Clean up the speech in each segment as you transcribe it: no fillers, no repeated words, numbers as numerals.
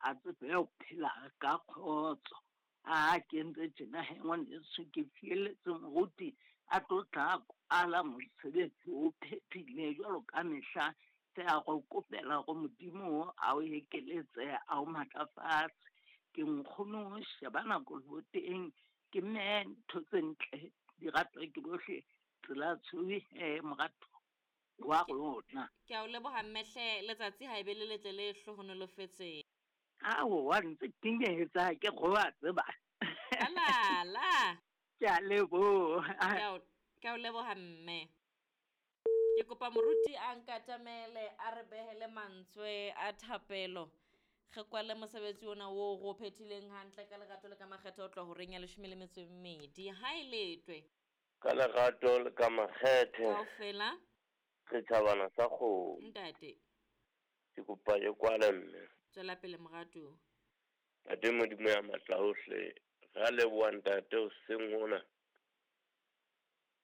a tsebe ho phela ka kgotso. A ke entse tjena he ngwaneso, ke fielletse moruti a tlo tla kwala mosebetsi o phethile jwalo ka mehla. Re a go kopela go Modimo a o ekeletse a o matlafatse. Ke nkgono sheba nako teng ke mme ntho tse ntle di ratwa ke bohle tsela tshweu he morato wa rona. Ke a o leboha mmehle letsatsi ha e be le letle le hlohonolofetseng. Aowa ntse ke nyetsa ke go a tseba. Alala. Ke a leboha. Ke a o leboha mme. Ke kopa moruti a nkatamele a re behele mantswe a thapelo. Re kwale mosebetsi ona oo re o phethileng hantle ka lerato le ka makgethe ho tloha horeng ya 12. Ha e letwe. Ka lerato le ka makgethe. Kaofela. Setjhabana sa kgomo. Ntate. Ke kopa ke kwale mme. Tswela pele moratuwa. Ntate Modimo ya matla ohle, re a leboha ntate hoseng hona.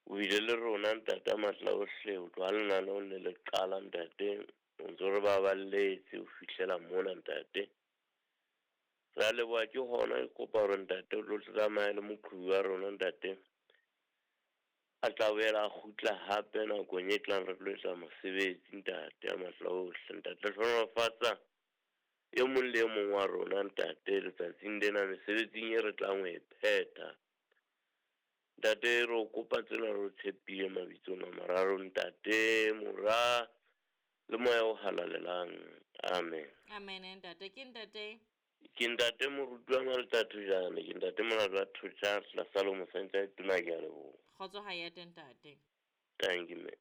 O bile le rona ntate a matla ohle, ho tloha lenaneong le le qala ntate, o ntso re baballetse ho fihlela mona ntate. Re a leboha ke hona ke kopa hore ntate o tlo tsamaya le moqhubi wa rona ntate. A tla boela a kgutla hape nakong e tlang re tlo etsa mosebetsi ntate a matla ohle. Ntate hlohonolofatsa e mong le e mong wa rona ntate letsatsing lena mesebetsing e re tlang ho e phetha. Ntate re o kopa tsena re o tshepile mabitsong a mararo ntate, mora le moya o halalelang. Amen. Amen ntate. Ke ntate. Ke ntate moruti wa Malta Thojane, ke ntate Molato wa Thotjha, tlasa Salomo Sentse tona ke a leboha. Kgotso ha ya teng ntate. Thank you mme.